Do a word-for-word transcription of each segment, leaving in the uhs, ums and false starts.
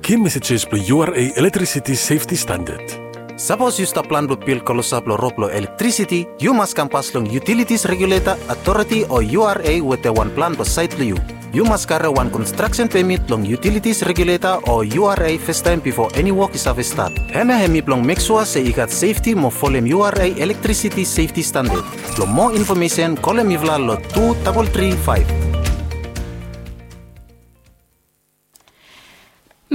Ki mesejes blong U R A elektrisiti sefti standad. Sapos yu stap plan blong bil klosap long rod blong elektrisiti, yu mas kam pas long Utilities Regulator Authority o U R A wetem wan plan blong saet blong yu. Yu mas karem wan konstraksen pemit long Utilities Regulator o U R A fastaem bifo eni wok i save stat. Hemia hemi blong mek sua se i gat sefti mo folem U R A elektrisiti sefti standad. Blong moa infomesen, kolem mifala long tu dabol tri faef.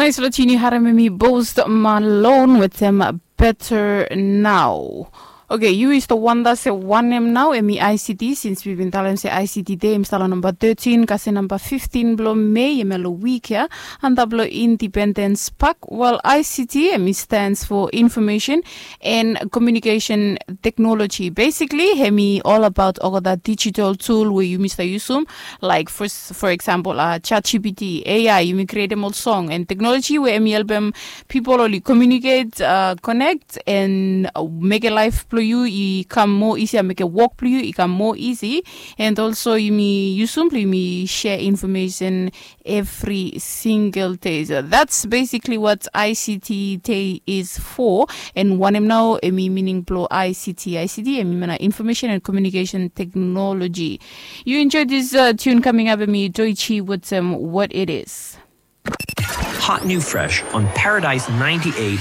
Naes long tune yu harem hemi Post Malone wetem Better Now. Oke, yu i stap wanda se wanem nao hemi I C T, sins mi bin talem se I C T Dei hemi stap long namba tetin kasem namba fiftin blong Mei, hemia long wik ya, antap long Independens Pak. Wel, I C T hemi stands for Information and Communication Technology. Basically hemi ol abaot olgeta digital tool we yumi stap yusum, laek for, for example, uh, ChatGPT, A I, yumi krietem ol song, and technology we hemi helpem pipol oli communicate, uh, connect, and, uh, mekem laef blong yu i kam moa isi, mekem wok blong yu i kam moa isi. And also yumi yusum blong yumi share information evri singel dei. So that's basically what I C T Dei is for. And wanem nao hemi mining blong I C T? I C T hemi mean, uh, Information and Communication Technology. Yu enjoy this, uh, tune coming up, hemi Doichi wetem, um, What It Is. Hot new fresh on Paradise ninety-eight.